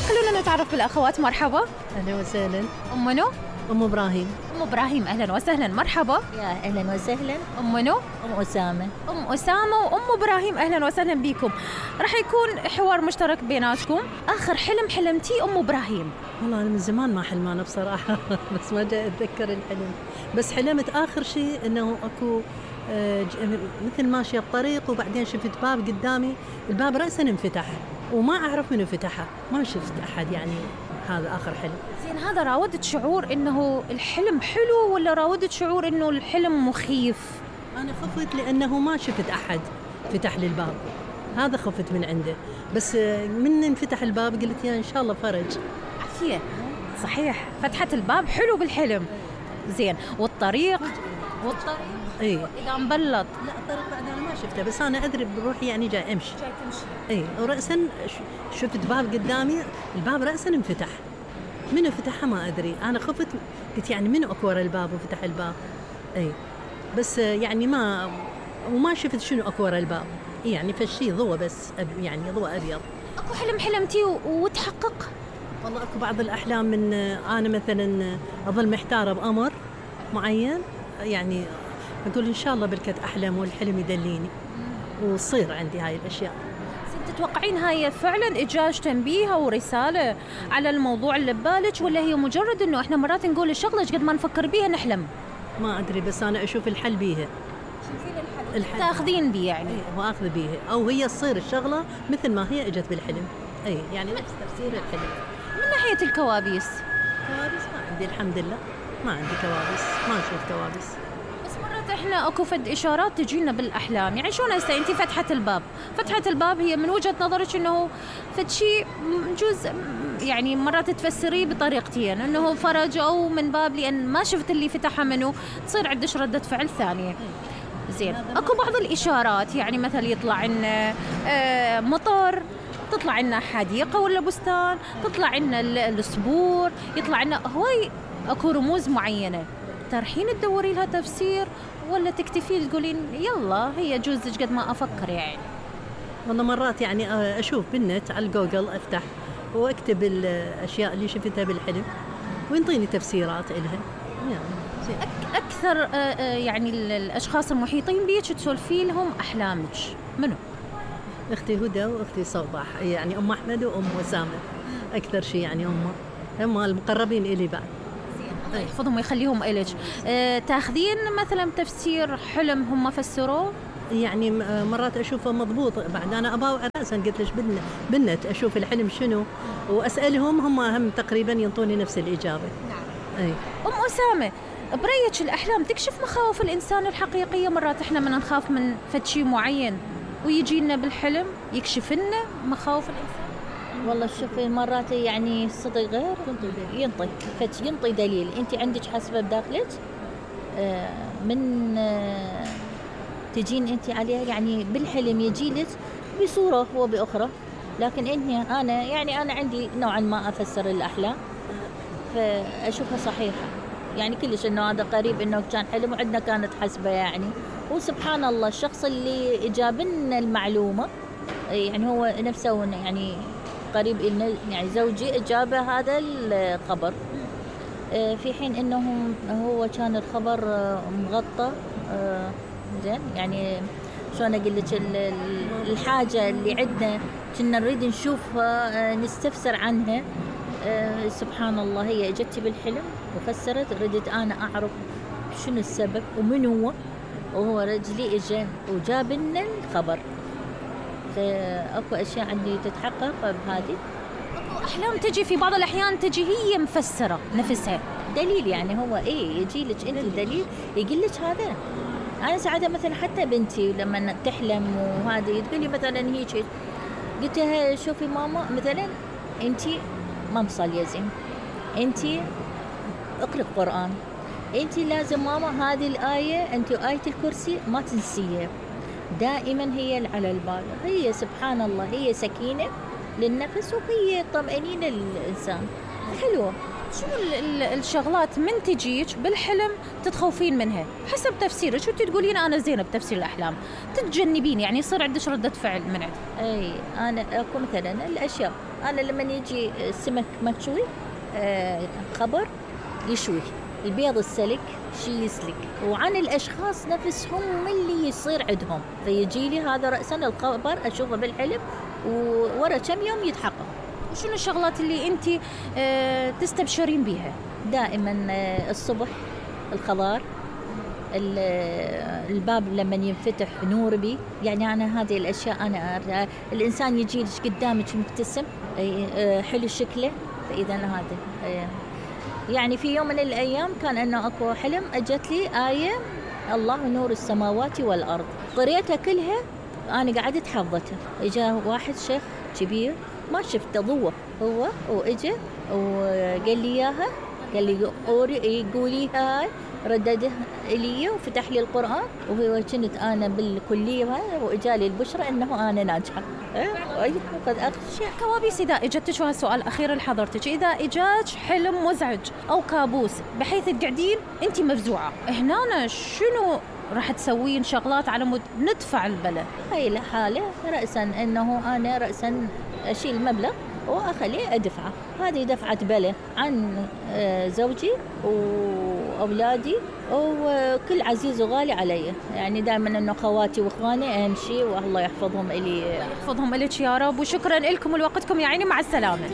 خلونا نتعرف بالأخوات. مرحبا. أهلا وسهلا. أم منو؟ أم إبراهيم. أم إبراهيم أهلا وسهلا. مرحبا. يا أهلا وسهلا. أم منو؟ أم أسامة. أم أسامة وأم إبراهيم أهلا وسهلا بكم. راح يكون حوار مشترك بيناتكم. آخر حلم حلمتي أم إبراهيم؟ والله أنا من زمان ما حلمانة بصراحة بس ما جاء أتذكر الحلم. بس حلمت آخر شيء إنه أكو مثل ماشية بطريق وبعدين شفت باب قدامي، الباب رأسا انفتح وما أعرف منو فتحه، ما شفت أحد يعني. هذا آخر حلم. زين، هذا راودت شعور إنه الحلم حلو ولا راودت شعور إنه الحلم مخيف؟ أنا خفت لأنه ما شفت أحد فتح لي الباب، هذا خفت من عنده. بس من انفتح الباب قلت يا إن شاء الله فرج. عافية. صحيح، فتحة الباب حلو بالحلم. زين، والطريق اي إذا مبلط؟ لا الطريق بعد أنا ما شفته، بس أنا أدري بروحي يعني جاي أمشي. اي ورأسا شفت باب قدامي، الباب رأسا انفتح، منو فتحها ما أدري. أنا خفت، قلت يعني منو أكو ورا الباب وفتح الباب. اي بس يعني وما شفت شنو أكو ورا الباب، يعني فالشي ضوء بس يعني ضوء أبيض. أكو حلم حلمتي وتحقق؟ والله أكو بعض الأحلام من أنا مثلا أظل محتارة بأمر معين، يعني أقول إن شاء الله بركة أحلم والحلم يدليني وصير عندي هاي الأشياء. تتوقعين هاي فعلا إجاج تنبيه ورسالة على الموضوع اللي ببالك، ولا هي مجرد إنه إحنا مرات نقول الشغلة قد ما نفكر بيها نحلم؟ ما أدري، بس أنا أشوف الحل بيها. شوفين الحل تاخذين بيه يعني؟ وأخذ بيها، أو هي تصير الشغلة مثل ما هي إجت بالحلم. يعني نفس تفسير الحلم. من ناحية الكوابيس؟ كوابيس ما عندي الحمد لله، ما عندي كوابيس، ما أشوف كوابيس. بس مرات إحنا أكو فد إشارات تجينا بالأحلام، يعني شلون هسه أنتي فتحة الباب هي من وجهة نظرك إنه فد شيء جزء، يعني مرات تفسريه بطريقتين، إنه فرج أو من باب لأن ما شفت اللي فتحها منه، تصير عندك ردة فعل ثانية. زين، أكو بعض الإشارات يعني مثل يطلع لنا مطر، تطلع لنا حديقة ولا بستان، تطلع لنا الصبور، يطلع لنا هواي أكو رموز معينة. ترحين تدوري لها تفسير ولا تكتفي تقولين يلا هي جوزك قد ما أفكر يعني؟ والله مرات يعني أشوف بالنت على الجوجل، أفتح وأكتب الأشياء اللي شفتها بالحلم وينطيني تفسيرات إلها يعني. أكثر يعني الأشخاص المحيطين بيك تسولفي لهم أحلامك منو؟ أختي هدى وأختي صباح، يعني أم أحمد وأم أسامة أكثر شيء، يعني هم المقربين إلي بعد. الله يحفظهم ويخليهم إليك. تاخذين مثلا تفسير حلم هم فسروه؟ يعني مرات أشوفه مضبوط، بعد أنا أباوع رأسا قلت ليش بالنت أشوف الحلم شنو وأسألهم، هم تقريبا ينطوني نفس الإجابة. نعم. أم أسامة، بريتش الأحلام تكشف مخاوف الإنسان الحقيقية؟ مرات إحنا من نخاف من فد شيء معين ويجينا بالحلم يكشف لنا مخاوف الإنسان. والله شوفي مرات يعني صدق غير ينطي دليل انت عندك حسبه بداخلك من تجين انت عليها، يعني بالحلم يجيلك بصوره وباخرى. لكن انا عندي نوعا ما افسر الاحلام فاشوفها صحيحه، يعني كلش انه هذا قريب انه كان حلم وعندنا كانت حسبه يعني. وسبحان الله الشخص اللي جاب لنا المعلومه يعني هو نفسه يعني قريب إلنا، يعني زوجي أجاب هذا الخبر في حين إنه هو كان الخبر مغطى. زين يعني شلون أقول لك، الحاجة اللي عندنا كنا نريد نشوفها نستفسر عنها، سبحان الله هي اجتي بالحلم وفسرت. ردت أنا أعرف شنو السبب ومن وهو رجلي إجا وجاب لنا الخبر. فأكو أشياء عندي تتحقق بهذه. أكو أحلام تجي في بعض الأحيان تجي هي مفسرة نفسها دليل، يعني هو يجي لك أنت دليل يقول لك هذا. أنا ساعتها مثلا حتى بنتي لما تحلم وهذه تقولي مثلا هيك، قلت لها شوفي ماما مثلا أنت ما مصلية زين، أنت اقرأ قرآن، أنت لازم ماما هذه الآية أنت آية الكرسي ما تنسيها دائما، هي على البال. هي سبحان الله هي سكينة للنفس وهي طمأنينة للإنسان حلوة. شو الشغلات من تجيك بالحلم تتخوفين منها حسب تفسيرك؟ شو تقولين أنا زينة بتفسير الأحلام، تتجنبين يعني يصير عندك ردة فعل من عندك؟ أي أنا أكو مثلا الأشياء، أنا لما يجي السمك مشوي خبر يشوي، البيض السلك شي يسلك، وعن الأشخاص نفسهم اللي يصير عندهم، فيجي لي هذا رأسا الخبر أشوفه بالحلم وورا كم يوم يتحقق. وشنو الشغلات اللي أنت تستبشرين بيها؟ دائما الصبح الخضار، الباب لما ينفتح نور بي، يعني أنا هذه الأشياء أنا الإنسان يجي لك قدامك مبتسم حلو شكله، فإذا هذا يعني في يوم من الأيام كان أنه أكو حلم أجت لي آية الله نور السماوات والأرض، قريتها كلها أنا قعدت حفظتها. إجا واحد شيخ كبير ما شفته ضوء هو وإجا وقال لي إياها، قال لي قوليها هاي، رددها إلي وفتح لي القرآن، وهو كنت أنا بالكلية وإجالي البشرى أنه أنا ناجحة. قد أخشى كوابيس إذا إجتك، وهالسؤال الأخير لحضرتك، إذا إجاك حلم مزعج أو كابوس بحيث تقعدين أنت مفزوعة، هنا شنو راح تسوين شغلات على مود ندفع البلا؟ هاي الحالة رأسا أنه أنا رأسا أشيل مبلغ وأخليه أدفعه، هذه دفعة بلا عن زوجي وأولادي وكل عزيز وغالي علي، يعني دائما أنه خواتي وإخواني أمشي والله يحفظهم إلي. يحفظهم إليك يا رب، وشكرا لكم ولوقتكم يا عيني، مع السلامة.